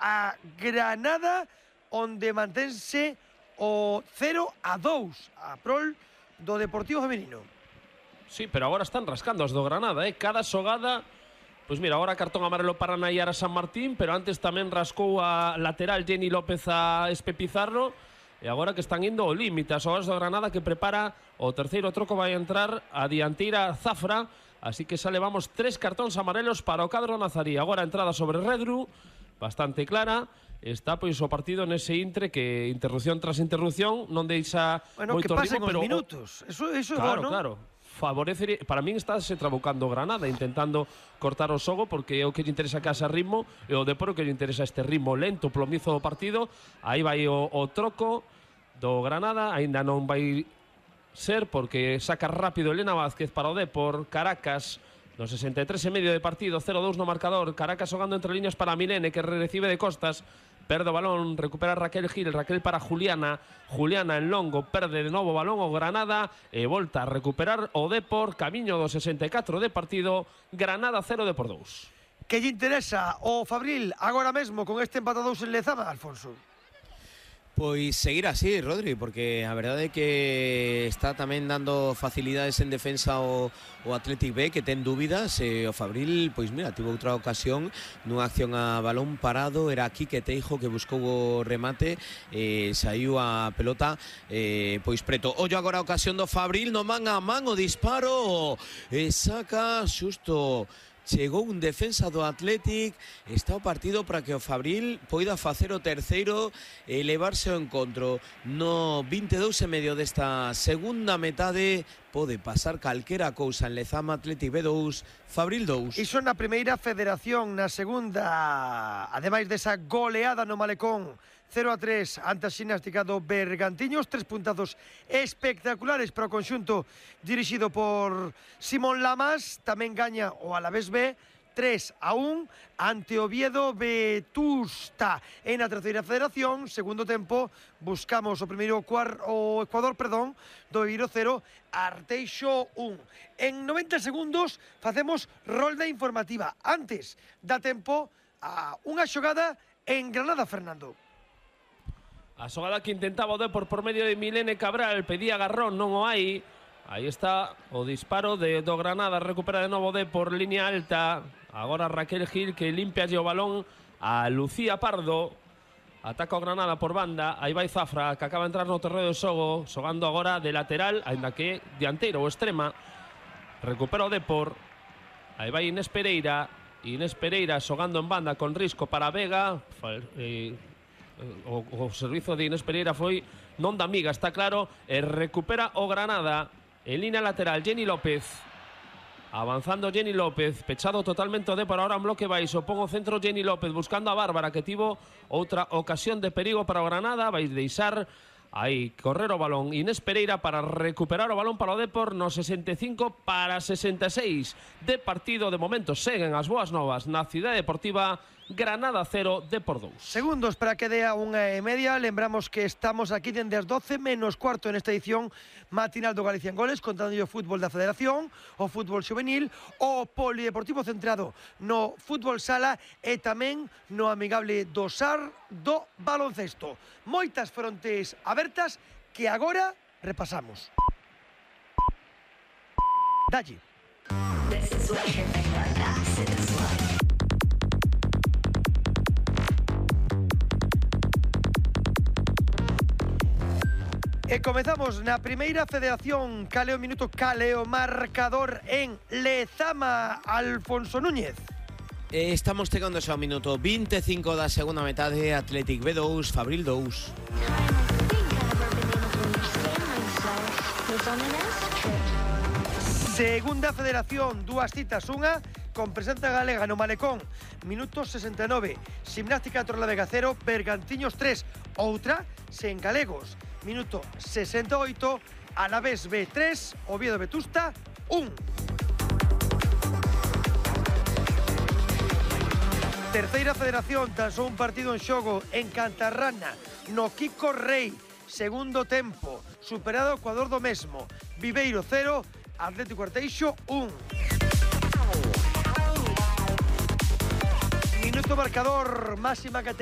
a Granada, onde mantense o 0-2 a prol do Deportivo Femenino. Sí, pero agora están rascando as do Granada, cada xogada. Pois mira, agora cartón amarelo para Nayara San Martín, pero antes tamén rascou a lateral Jenny López a Espe Pizarro. E agora que están indo ao límite as xogadas do Granada, que prepara o terceiro troco, vai entrar a dianteira Zafra. Así que xa levamos 3 cartóns amarelos para o cadro nazarí. Agora a entrada sobre Redru, bastante clara. Está pois o partido nese intre que interrupción tras interrupción non deixa moito que pasen ritmo, os pero minutos. Eso é claro, bueno. Claro. Favorece, para min está se trabucando Granada, intentando cortar o xogo, porque é o que lle interesa que haxa ritmo, e o Depor que lle interesa este ritmo lento, plomizo do partido. Aí vai o troco do Granada, aínda non vai ser, porque saca rápido Elena Vázquez para o Depor. Caracas no 63 e medio de partido, 0-2 no marcador. Caracas xogando entre líneas para Milene, que recibe de costas, perde o balón, recupera Raquel Gil, Raquel para Juliana, Juliana en longo, perde de novo o balón o Granada e volta a recuperar o Depor, camiño do 64 de partido. Granada 0, Depor 2. Que lle interesa o Fabril agora mesmo con este empate a 2 en Lezama, Alfonso? Pois seguir así, Rodri, porque a verdade é que está tamén dando facilidades en defensa o Athletic B, que ten dúbidas. O Fabril, pois mira, tivo outra ocasión nunha acción a balón parado, era aquí que Teijo que buscou o remate, saiu a pelota pois preto. Ollo agora a ocasión do Fabril, no man a man o disparo, saca xusto. Chegou un defensa do Athletic, está o partido para que o Fabril poida facer o terceiro e levarse ao encontro. No 22 e medio desta segunda metade pode pasar calquera cousa en Lezama. Athletic B2, Fabril 2. Iso na primeira federación, na segunda, ademais desa goleada no Malecón 0-3 ante a ximnástica do Bergantiños, 3 puntazos espectaculares para o conxunto dirixido por Simón Lamas. Tamén gaña o Alavés B 3-1 ante Oviedo Vetusta. En a terceira federación, segundo tempo, buscamos o primeiro o Ecuador, do Viveiro 0, Arteixo 1. En 90 segundos facemos rolda informativa. Antes dá tempo a unha xogada en Granada, Fernando. A xogada que intentaba o Depor por medio de Milene Cabral, pedía agarrón, non o hai. Aí está o disparo do Granada, recupera de novo Depor, línea alta. Agora Raquel Gil, que limpia o balón a Lucía Pardo. Ataca o Granada por banda, aí vai Zafra, que acaba de entrar no terreo de xogo, xogando agora de lateral, aínda que dianteiro ou extrema. Recupera o Depor. Aí vai Inés Pereira xogando en banda con risco para Vega. O servizo de Inés Pereira foi non da amiga, está claro, e recupera o Granada en línea lateral. Jenny López, avanzando Jenny López, pechado totalmente o Depor, ahora en bloque baixo, pon o centro Jenny López buscando a Bárbara, que tivo outra ocasión de perigo para o Granada. Vai deixar aí correr o balón Inés Pereira para recuperar o balón para o Depor no 65 para 66 de partido. De momento seguen as boas novas na Cidade Deportiva. Granada 0, Depor 2. Segundos para que dea 1:30. Lembramos que estamos aquí dende as 12 menos cuarto nesta edición matinal do Galicia en Goles, contando o fútbol da Federación, o fútbol juvenil, o polideportivo centrado no fútbol sala e tamén no amigable do SAR do baloncesto. Moitas frontes abertas que agora repasamos. Dalle. E comezamos na primeira federación. Caleo minuto, caleo marcador en Lezama, Alfonso Núñez. Estamos chegando xa ao minuto 25 da segunda metade. Athletic B2, Fabril 2. Segunda federación, dúas citas, unha con presenza galega no Malecón, minuto 69. Ximnástica Torrelavega 0, Bergantiños 3. Outra sen galegos, minuto 68, Alavés B 3, Oviedo Vetusta 1. Terceira federación, tan só un partido en xogo en Cantarrana, no Kiko Rei, segundo tempo, superado o Ecuador do mesmo, Viveiro 0, Atlético Arteixo 1. Minuto marcador, máxima categoría.